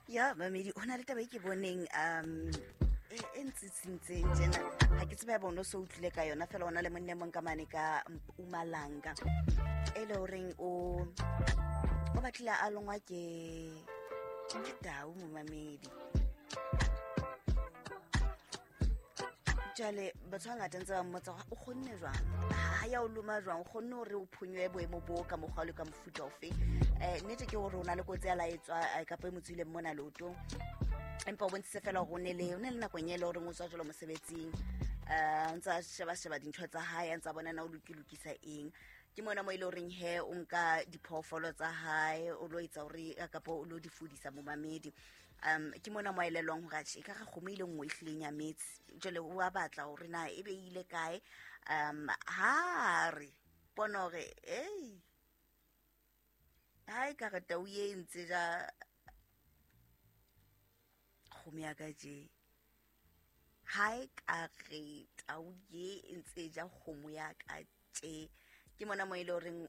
Ya mamedi, ho na le taba e ke boneng e ntsitsintseng tjena, ha ke tsebe ya bona o so utlwile ka yona fela. Ona le monne mong ka mane ka Mpumalanga e le horeng o batlile a longwa ke tau, momamedi. Jwale batho ba ngata ntse ba mmotsa hore o kgonne jwang, ha ya o loma jwang, o kgonne hore o phonyohe boemo bo ka mokgwa le ka mofuta ofe. Nnete ke hore o na le kotsi ya la etswa kapa e mo tswileng mona leotong, empa o bontshitse fela hore o ne le nakong e le horeng o tswa jalo mosebetsing, o ntse a sheba-sheba dintho tsa hae, a ntse a bona na o lokisa eng. Ke mona mo e le horeng he o nka diphoofolo tsa hae, o lo etsa hore kapa o lo di fudisa, momamedi. Ke mona mo a elellwang hore atjhe, e ka re kgomo ile nngwe e hlileng ya metse. Jwale o a batla hore na e be e ile kae. Ha re bona hore ei, ha e ka re tau e ntse ja kgomo ya ka tje, ha e ka re tau ye e ntse ja kgomo ya ka tje. Ke mona mo e le horeng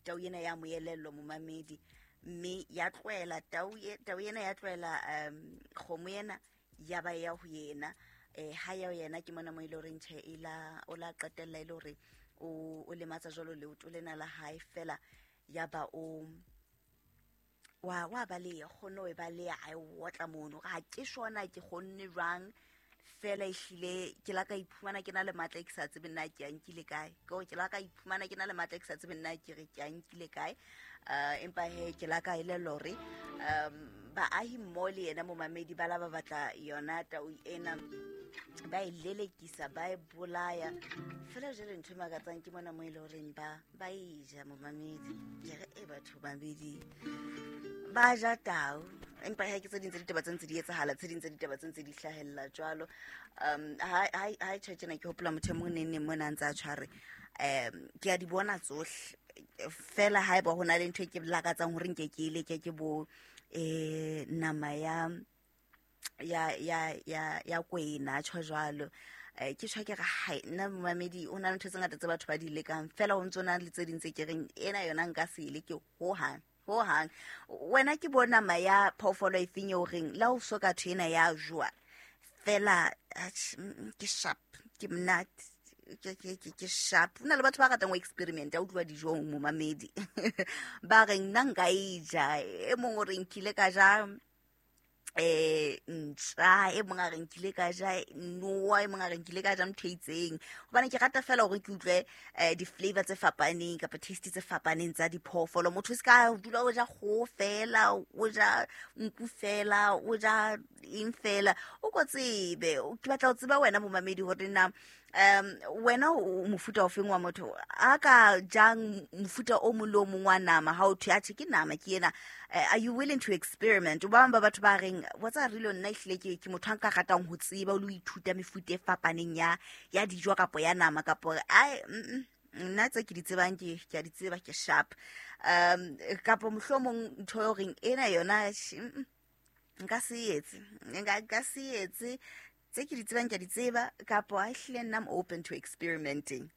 tau ena ya mo elellwa, momamedi, mme ya tlohela tau ena ya tlohela kgomo ena, ya ba ya ho yena. Ha ya ho yena, ke mona mo e le horeng tjhe, e la o la qetella e le hore o lematsa jwalo leoto lena la hae fela, ya ba o wa baleha, kgonne ho e baleha, a e otla mono. Ha ke shona ke kgonne jwang fela, ehlile ke la ka iphumana ke na le matla e ke sa tsebeng na ke a nkile kae. Ke hore ke la ka iphumana ke na le matla e ke sa tsebeng na ke re ke a nkile kae. Empa he ke la ka elellwa hore baahi mmoho le yena, momamedi, ba la ba batla yona tau ena, ba e lelekisa, ba e bolaya fela. Jwale ntho e makatsang ke mona mo e le horeng ba e ja, momamedi. Ke re e batho babedi ba ja tau, empa ha ke tse ding tsa ditaba tse ntse di etsahala, tse ding tsa ditaba tse ntse di hlahella jwalo. Ha e tjho tjena, ke hopola motho e mong neng neng mona a ntse a tshware. Ke a di bona tsohle fela. Ha eba ho na le ntho e ke lakatsang hore nke ke e leke, ke bo nama ya kwena tjho jwalo. Ke tjho ke re hai, nna momamedi, o na le ntho tse ngata tse batho ba di lekang fela, o ntso na le tse ding tse ke reng ena yona nka se e leke hohang hohang. Wena ke bo nama ya phoofolo e feng eo reng la o so ka thwe ena ya jowa fela, atjhe, ke sharp, ke monate, ke sharp? Ho na le batho ba ratang ho experiment a utlwa dijong, momamedi, ba reng nna nka e ja. E mong o re nkile ka ja ntja, e mong a re nkile ka ja noa, e mong a re nkile ka ja ntho e itseng. Hobane ke rata fela hore ke utlwe di-flavor tse fapaneng kapa taste tse fapaneng tsa diphoofolo. Motho o se ka dula o ja kgoho fela, o ja nku fela, o ja eng fela, o ko tsebe. Ke batla ho tseba wena, momamedi, hore na wena o mofuta ofeng wa motho a ka jang mofuta o mong le o mong wa nama. Ha o thwe atjhe ke nama ke ena, are you willing to experiment? Ba bang ba batho ba reng wa tsa rilo, nna ehlile ke motho a nka ratang ho tseba o le ho ithuta mefuta e fapaneng ya dijo kapo ya nama, kapo ai, nna tse ke di tsebang ke a di tseba, ke sharp. Kapo mohlomong ntho e horeng ena yona nka se etse, nka se etse, tse ke di tsebang ke a di tseba, kapo a ehlile nna I'm open to experimenting.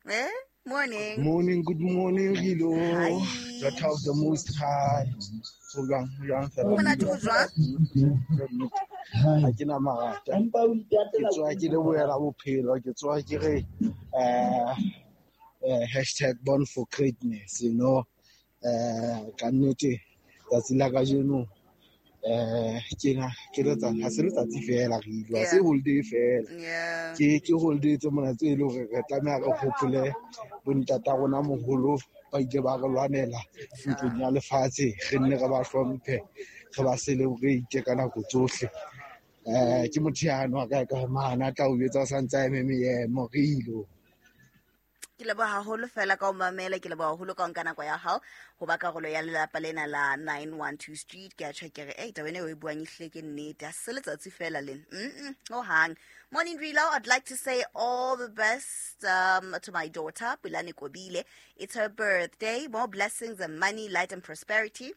Morning. Morning, good morning, Rilo. Hi. Daughter of the Most High. Ho jwang, ho jwang fela? Monate, ho jwang? Ha ke na mangata. Ke tsoha ke lebohela bophelo, ke tsoha ke re #bornforgreatness. Ka nnete tsatsi la kajeno ke na ke letsatsi, ha se letsatsi fela re ile, ha se holiday fela. Ke holiday tse mona tse e leng hore re tlameha re hopole bontata rona moholo ba ile ba re lwanela ntlong ya lefatshe, re nne re ba hlomphe, re ba celebrate ka nako tsohle. Ke motho yano a kae kae mane a tla o jwetsa o santse a eme meemo re ilo. Ke leboha haholo fela ka o mamela, ke leboha haholo ka o nka nako ya hao ho ba karolo ya lelapa lena la 912 Street. Ke a tjho ke re ei, taba ena eo e buang ehlile ke nnete, ha se letsatsi fela lena hohang. Morning Rilo, I'd like to say all the best to my daughter Pulane Kobile. It's her birthday. More blessings and money, light and prosperity.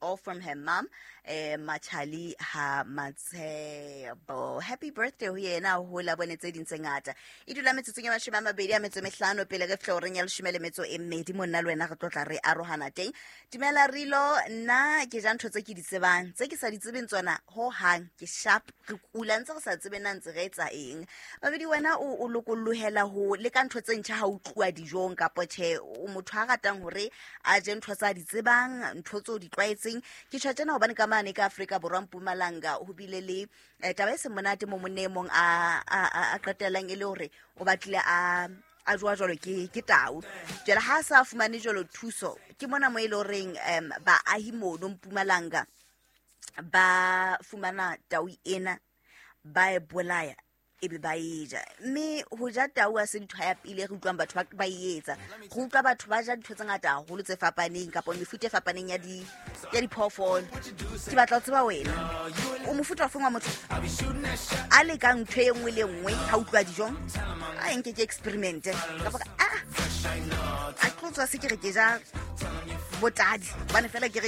All from her mom, Machali ha Matshebo. Happy birthday ho yena, ho la bone tse ding tse ngata. E dula metsotsong ya 25 pele re fihla horeng ya 12, monna le wena re tlo tla re arohana teng. Dumela Rilo, nna ke ja ntho tse ke di tsebang, tse ke sa di tsebeng tsona ho hang ke sharp, re kula ntse re sa tsebe na ntse re etsa eng. Babedi wena o lokollohela ho leka ntho tse ntjha ha o tluwa dijong kapa tjhe, o motho a ratang hore a je ntho tsa di tsebang, ntho tseo di tlwaetseng. Ke tjho tjena hobane ka mane ka Afrika Borwa Mpumalanga ho bile le taba e seng monate mo monna e mong a qetellang e le hore o batlile a jowa jwalo ke tau. Jwale ha a sa fumane jwalo thuso, ke mona mo e le horeng baahi mono Mpumalanga ba fumana tau ena, ba e bolaya ebe ba e ja. Mme ho ja tau ha se ntho ya pele re utlwang batho ba e etsa. Re utlwa batho ba ja dintho tse ngata haholo tse fapaneng kapa mefuta e fapaneng ya diphoofolo. Ke batla ho tseba wena o mofuta ofeng wa motho a lekang ntho e nngwe le e nngwe ha utlwa dijong, a nke ke experimente kapa a tlo tswa se ke re ke ja botadi hobane fela ke reng